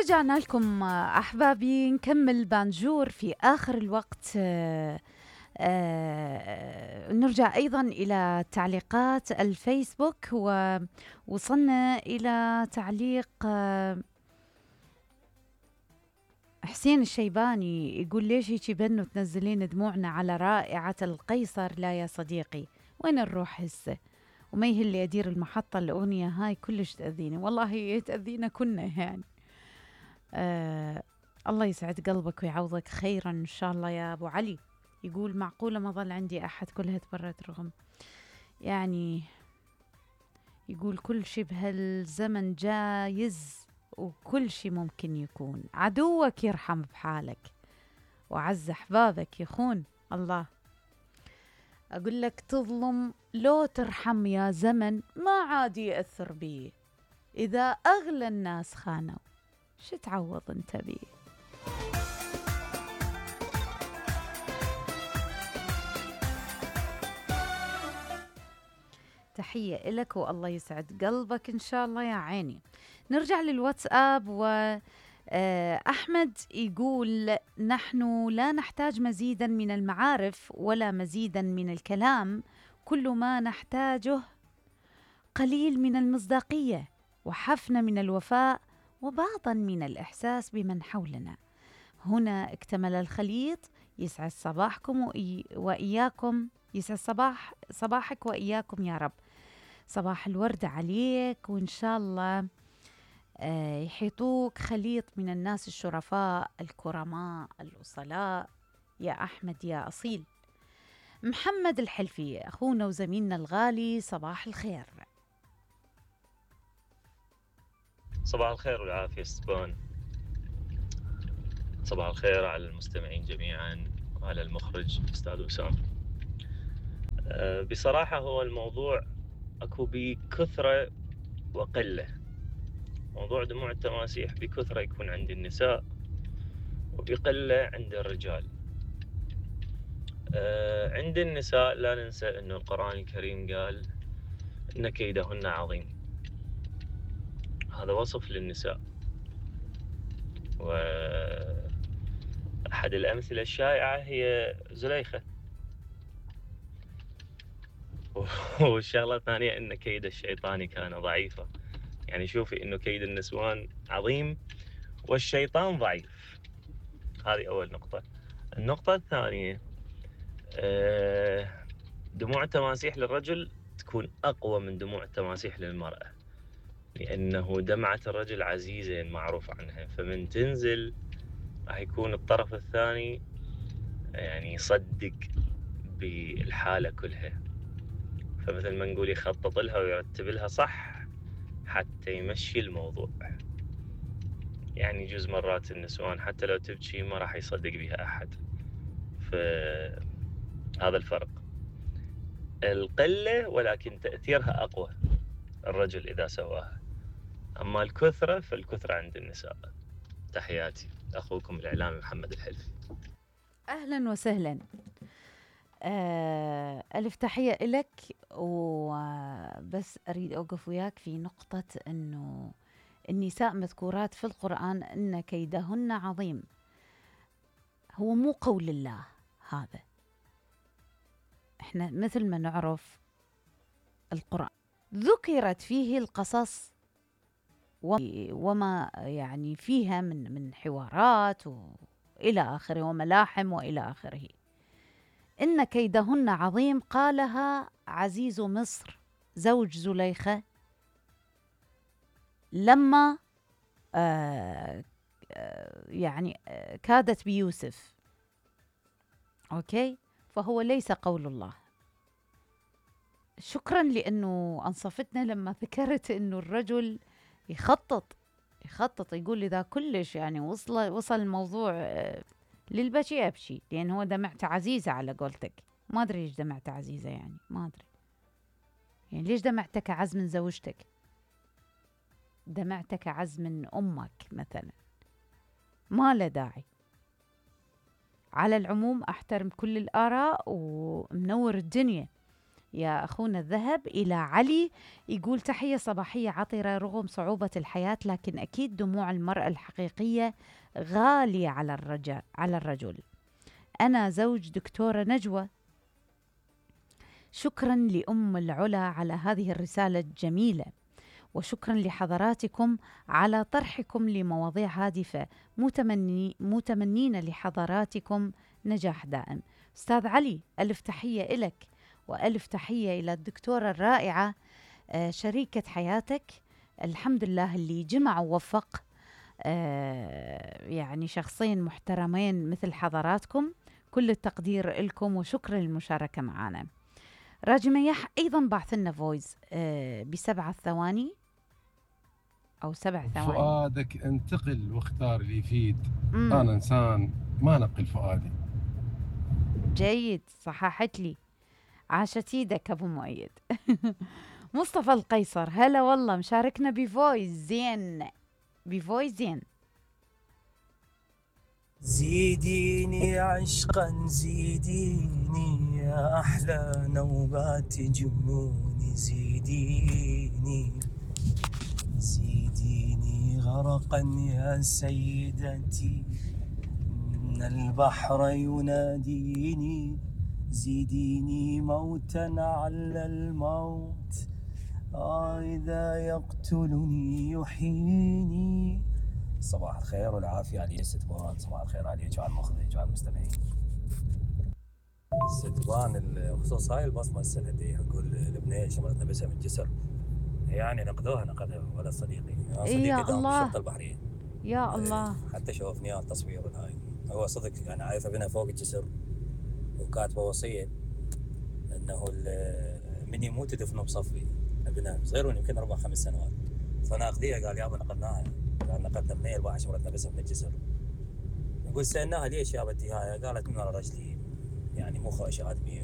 ورجعنا لكم أحبابي نكمل بانجور في آخر الوقت. نرجع أيضا إلى تعليقات الفيسبوك، ووصلنا إلى تعليق حسين الشيباني يقول: ليش هيك بنو تنزلين دموعنا على رائعة القيصر؟ لا يا صديقي، وين نروح هسه؟ وما يهل لي أدير المحطة، الأغنية هاي كلش تأذيني، والله تأذينا كنا يعني. الله يسعد قلبك ويعوضك خيرا إن شاء الله يا أبو علي. يقول: معقولة ما ظل عندي أحد كل هالتبرد رغم يعني، يقول كل شي بهالزمن جايز وكل شي ممكن يكون، عدوك يرحم بحالك وعز أحبابك يخون الله. أقول لك تظلم لو ترحم يا زمن، ما عاد يأثر بيه، إذا أغلى الناس خانوا شو تعوض انت بيه؟ تحية إلك والله يسعد قلبك إن شاء الله يا عيني. نرجع للواتساب، أحمد يقول: نحن لا نحتاج مزيدا من المعارف ولا مزيدا من الكلام، كل ما نحتاجه قليل من المصداقية وحفنة من الوفاء وبعضا من الإحساس بمن حولنا. هنا اكتمل الخليط. يسعد صباحكم وإياكم، يسعد صباحك وإياكم يا رب. صباح الورد عليك، وإن شاء الله يحيطوك خليط من الناس الشرفاء الكرماء الأصلاء يا أحمد يا أصيل. محمد الحلفي أخونا وزميلنا الغالي، صباح الخير. صباح الخير والعافية ستبان. صباح الخير على المستمعين جميعا وعلى المخرج أستاذ وسام. بصراحة هو الموضوع أكو بكثرة وقلة. موضوع دموع التماسيح بكثرة يكون عند النساء وبقلة عند الرجال. عند النساء لا ننسى أن القرآن الكريم قال إن كيدهن عظيم، هذا وصف للنساء. وأحد الأمثلة الشائعة هي زليخة. والشغلة الثانية أن كيد الشيطان كان ضعيفا. يعني شوفي أنه كيد النسوان عظيم والشيطان ضعيف. هذه أول نقطة. النقطة الثانية، دموع التماسيح للرجل تكون أقوى من دموع التماسيح للمرأة، لأنه دمعة الرجل عزيزة معروف عنها، فمن تنزل راح يكون الطرف الثاني يعني يصدق بالحالة كلها، فمثل ما نقول يخطط لها ويرتب لها صح حتى يمشي الموضوع. يعني يجوز مرات النسوان حتى لو تبكي ما راح يصدق بها أحد، فهذا الفرق. القلة ولكن تأثيرها أقوى الرجل إذا سواها، أما الكثرة فالكثرة عند النساء. تحياتي، أخوكم الإعلامي محمد الحلفي. أهلا وسهلا. ألف تحية لك. وبس أريد أوقف وياك في نقطة أنه النساء مذكورات في القرآن أن كيدهن عظيم. هو مو قول الله هذا، احنا مثل ما نعرف القرآن ذكرت فيه القصص وما يعني فيها من حوارات إلى آخره وملاحم وإلى آخره. إن كيدهن عظيم قالها عزيز مصر زوج زليخة لما يعني كادت بيوسف. أوكي، فهو ليس قول الله. شكرا لأنه أنصفتنا لما ذكرت أنه الرجل يخطط يقول إذا كلش يعني وصل الموضوع للبشي أبشي، لأن هو دمعته عزيزة على قولتك. ما أدري ليش دمعته عزيزة، يعني ما أدري يعني ليش دمعتك أعز من زوجتك، دمعتك أعز من أمك مثلا، ما له داعي. على العموم أحترم كل الآراء ومنور الدنيا يا أخونا الذهب إلى علي، يقول تحية صباحية عطرة. رغم صعوبة الحياة لكن أكيد دموع المرأة الحقيقية غالية على الرجل. أنا زوج دكتورة نجوى. شكرا لأم العلا على هذه الرسالة الجميلة، وشكرا لحضراتكم على طرحكم لمواضيع هادفة. متمنين لحضراتكم نجاح دائم. أستاذ علي، ألف تحية إلك، وألف تحية إلى الدكتورة الرائعة شريكة حياتك. الحمد لله اللي جمع ووفق يعني شخصين محترمين مثل حضراتكم. كل التقدير لكم وشكرا للمشاركة معنا. راجي مياح أيضا بعث لنا فويس ب7 ثواني أو 7 ثواني. فؤادك انتقل واختار اللي يفيد. أنا إنسان ما نقل فؤادي. جيد، صححت لي. عاشت ايدك أبو مؤيد. مصطفى القيصر، هلا والله، مشاركنا بفويس زين. بفويس زين. زيديني عشقا زيديني يا أحلى نوبات جنوني، زيديني غرقا يا سيدتي إن البحر يناديني، زيديني موتا على الموت إذا يقتلني يحييني. صباح الخير والعافية علي ستبان. صباح الخير عليك وعلى المخرج وعلى المستمعين. ستبان بخصوص هاي البصمة السنة دي، أقول البنية شمرتنا بسها من الجسر، يعني نقدها ولا صديقي يا دام الله. بالشرطة البحرية. يا الله. حتى شوفني على التصوير والهاي، هو صدق يعني عايفة بنا فوق الجسر وكاتبة وصية انه من يموت يدفنه بصفي. ابنها صغير يمكن 4-5 سنوات، فناخذيها قال يابا نقلناها، قال نقلنا بنيه الباحة شمرتنا بسها من الجسر. نقول سألناها ليش يا بنتي هاي؟ قالت من ورا رجلي، يعني مو خوش ادمي